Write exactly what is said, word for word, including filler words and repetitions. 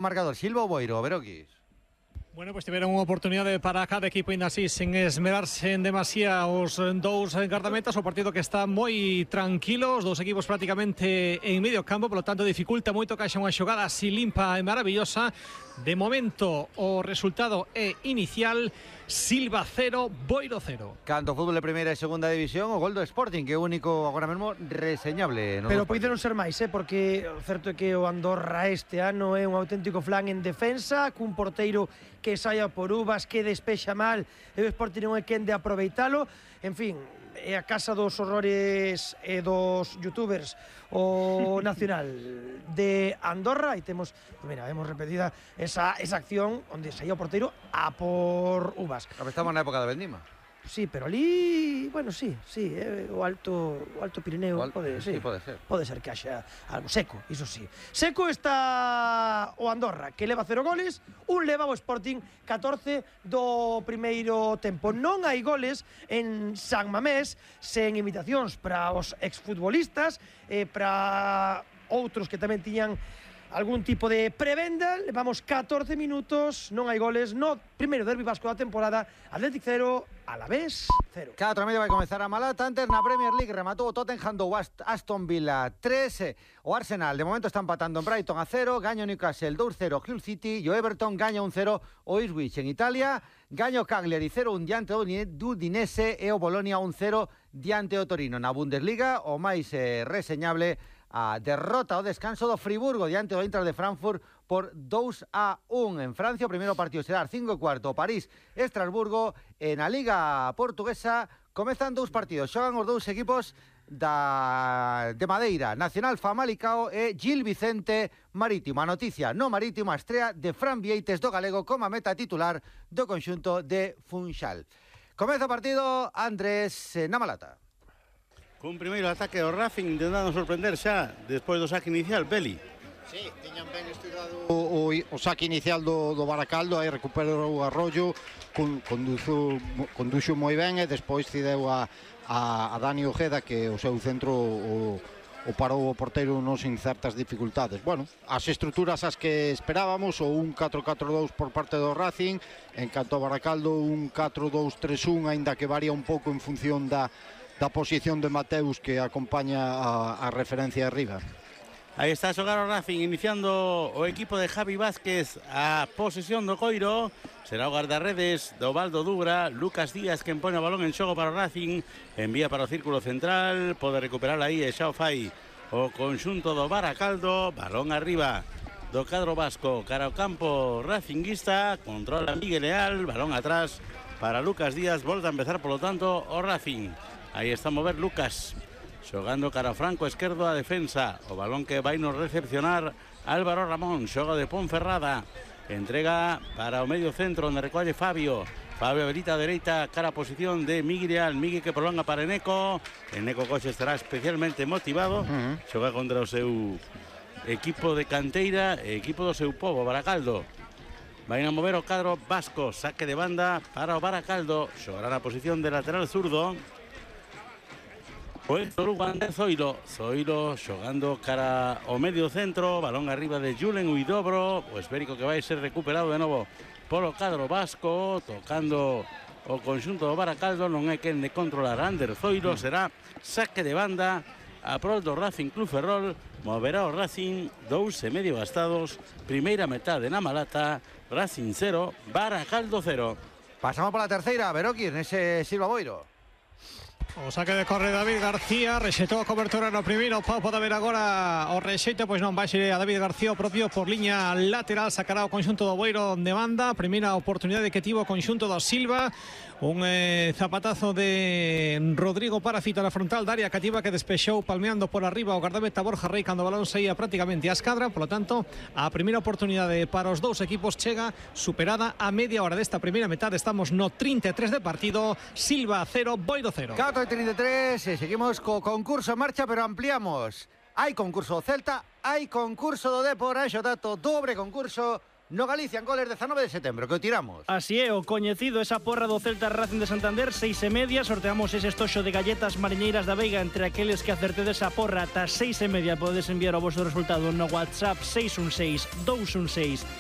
Marcador, Silva ou Boiro, Beroquis? Bueno, pues tiveron unha oportunidade para cada equipo ainda así sen esmerarse en demasía os dous gardametas. O partido que está moi tranquilo, os dous equipos prácticamente en medio campo, polo tanto dificulta moito que haxa unha xogada así limpa e maravillosa. De momento o resultado é inicial: Silva cero, Boiro cero. Canto fútbol de primeira e segunda división, o gol do Sporting, que é o único agora mesmo reseñable. Pero poderon ser máis, eh, porque o certo é que o Andorra este ano é un auténtico flan en defensa, cun porteiro que saia por uvas, que despexa mal, e o Sporting non é quen de aproveitalo. En fin, é a casa dos horrores e dos youtubers o nacional de Andorra, e temos, pues mira, hemos repetida esa, esa acción onde saía o porteiro a por uvas. Estamos na época da vendima. Sí, pero ali, bueno, sí, sí, eh, o alto o alto Pirineo, o al... pode, sí, sí, pode ser. Pode ser que haxa algo seco, iso sí. Seco está o Andorra, que leva cero goles, un leva o Sporting catorce do primeiro tempo. Non hai goles en San Mamés, sen invitacións para os exfutbolistas, e para outros que tamén tiñan algún tipo de prebenda. Levamos catorce minutos, non hai goles no primeiro derbi vasco da temporada. Athletic cero, Alavés cero. catro e media vai comezar a Malata. Antes na Premier League rematou o Tottenham do Aston Villa tres. O Arsenal de momento está empatando en Brighton a cero. Gaña o Newcastle dous cero Hull City. E o Everton gaña un cero o Ipswich. En Italia gaña o Cagliari cero un diante do Udinese e o Bolonia un cero diante o Torino. Na Bundesliga o máis eh, reseñable a derrota ao descanso do Friburgo diante do Eintracht de Frankfurt por dous a un. En Francia o primeiro partido será ás cinco e cuarto, París, Estrasburgo. E na Liga Portuguesa comezan dous partidos, xogan os dous equipos da de Madeira, Nacional Famalicao e Gil Vicente Marítimo. A noticia no Marítimo, a estrea de Fran Vieites do galego como meta titular do conxunto de Funchal. Comeza o partido, Andrés, na Malata. Cun primeiro ataque ao Racing intentando sorprender xa despois do saque inicial, Beli. Sí, tiñan ben estudado o, o, o saque inicial do, do Baracaldo, aí recuperou o Arroyo, con, conduzo, conduxo moi ben e despois cideu a, a, a Dani Ojeda, que o seu centro o, o parou o porteiro non sin certas dificultades. Bueno, as estruturas as que esperábamos, o un catro catro dous por parte do Racing, en canto ao Baracaldo un catro dous tres un, aínda que varía un pouco en función da da posición de Mateus, que acompaña a, a referencia arriba. Aí está a xogar o Racing, iniciando o equipo de Javi Vázquez a posesión do coiro. Será o guardarredes do Valdo Dubra, Lucas Díaz, que pone o balón en xogo para o Racing, envía para o círculo central, pode recuperar aí e xa o fai o conxunto do Baracaldo. Balón arriba do cadro vasco cara ao campo racinguista, controla Miguel Leal, balón atrás para Lucas Díaz, volta a empezar polo tanto o Racing. Aí está a mover Lucas, xogando cara ao franco esquerdo a defensa. O balón que vai nos recepcionar Álvaro Ramón, xoga de Ponferrada, entrega para o medio centro onde recolle Fabio. Fabio habilita a dereita cara a posición de Miguel, Miguel que prolonga para Eneco. Eneco Coxe estará especialmente motivado, uh-huh. Xoga contra o seu equipo de canteira e equipo do seu povo, Baracaldo. Vai a mover o cadro vasco, saque de banda para o Baracaldo, xogará na posición de lateral zurdo o Héctor Ugander Zoilo. Zoilo xogando cara ao medio centro, balón arriba de Julen Huidobro, o esférico que vai ser recuperado de novo polo cadro vasco, tocando o conxunto do Baracaldo, non é quen de controlar Ander Zoilo, será saque de banda a prol do Racing Club Ferrol. Moverá o Racing, dous e medio gastados, primeira metade na Malata, Racing cero, Baracaldo cero. Pasamos pola terceira, Beroquis, nese Silva Boiro. O saque de corre David García, rexetou a cobertura no primeiro, Pau pode ver agora o rexeito, pois non vai ser a David García o propio por liña lateral, sacará o conxunto do Boiro de banda. Primeira oportunidade que tivo o conxunto do Silva, un eh, zapatazo de Rodrigo Parafito na frontal da área cativa, que despexou palmeando por arriba o gardameta Borja Rey cando o balón saía prácticamente a escadra. Por lo tanto, a primeira oportunidade para os dous equipos chega superada a media hora desta primeira metade. Estamos no trinta e tres de partido, Silva cero, Boiro cero. catro e trinta e tres, e seguimos co concurso en marcha, pero ampliamos. Hai concurso do Celta, hai concurso do Depor, hai Xotato, dobre concurso no Galicia en goles dezanove de setembro, que o tiramos. Así é, o coñecido esa porra do Celta Racing de Santander, seis e media, sorteamos ese estoxo de galletas mariñeiras da Veiga entre aqueles que acertedes a porra ata seis e media. Podedes enviar o vosso resultado no WhatsApp seis un seis, dous un seis,